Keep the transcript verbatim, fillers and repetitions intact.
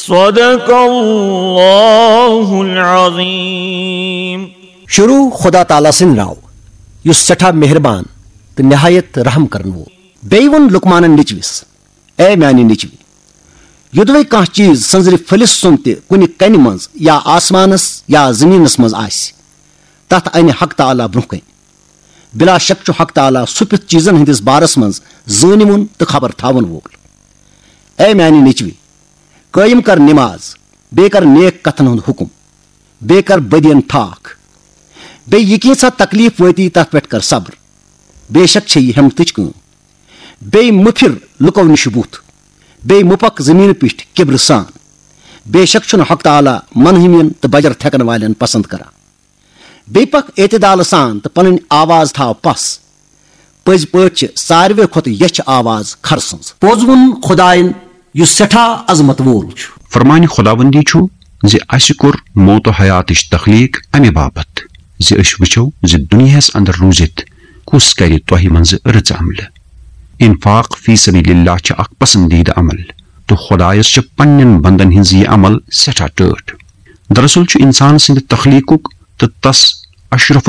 صدق اللہ العظیم۔ شروع خدا تعالیٰ سٕنٛدِ ناوٕ، یُس سٮ۪ٹھاہ مہربان تہٕ نہایت رحم کرن وول۔ بیٚیہِ ووٚن لقمانن نیٚچوِس، اے میانہِ نیٚچوِ، یوٚدوے کانٛہہ چیٖز سنزرِ پھٔلِس سُم تہِ کُنہِ کنہِ منٛز یا آسمانس یا زٔمیٖنس منٛز آسہِ، تتھ انہِ حق تعالیٰ برونٛہہ کنہِ۔ بلا شک چھُ حق تعالیٰ سُہ پیُتھ چیٖزن ہٕنٛدِس بارس منٛز زٲنِوُن تہٕ خبر تھاون وول۔ اے میانہِ نیٚچوِ، قٲیِم کر نماز، بیٚیہِ کر نیک کتھن ہُنٛد حُکم، بیٚیہِ کر بدین تھاکھ۔ بیٚیہِ یہِ کینٛژھا تکلیف وٲتی، تتھ پٮ۪ٹھ کر صبر۔ بے شک چھے یہِ ہٮ۪متٕچ کٲم۔ بیٚیہِ مہٕ پھِر لُکو نِش بُتھ۔ بیٚیہِ مہٕ پکھ زٔمیٖنہٕ پیٚٹھۍ کِبرٕ سان۔ بے شک چھُنہٕ حق تعالیٰ منہمین تہٕ بجر تھٮ۪کن والٮ۪ن پسند کران۔ بیٚیہِ پکھ اعتدالہٕ سان تہٕ پنٕنۍ آواز تھاو پس۔ پٔزۍ پٲٹھۍ چھِ ساروے کھۄتہٕ یچھِ آواز کھرٕ سٕنٛز۔ پوٚز ووٚن خدایَن، یُس سٮ۪ٹھاہ عظمت وول چھُ۔ فرمانہِ خداوندی چھُ زِ اسہِ کوٚر موت و حیاتٕچ تخلیق امہِ باپتھ زِ أسۍ وٕچھو زِ دُنیاہس اندر روٗزِتھ کُس کرِ تۄہہِ منٛزٕ رٕژ عملہٕ۔ انفاق فی سبیل اللہ چھِ اکھ پسندیدٕ عمل، تہٕ خدایس چھِ پننٮ۪ن بندن ہٕنٛز یہِ عمل سٮ۪ٹھاہ ٹٲٹھ۔ دراصل چھُ انسان سٕنٛدِ تخلیقُک تہٕ تس اشرف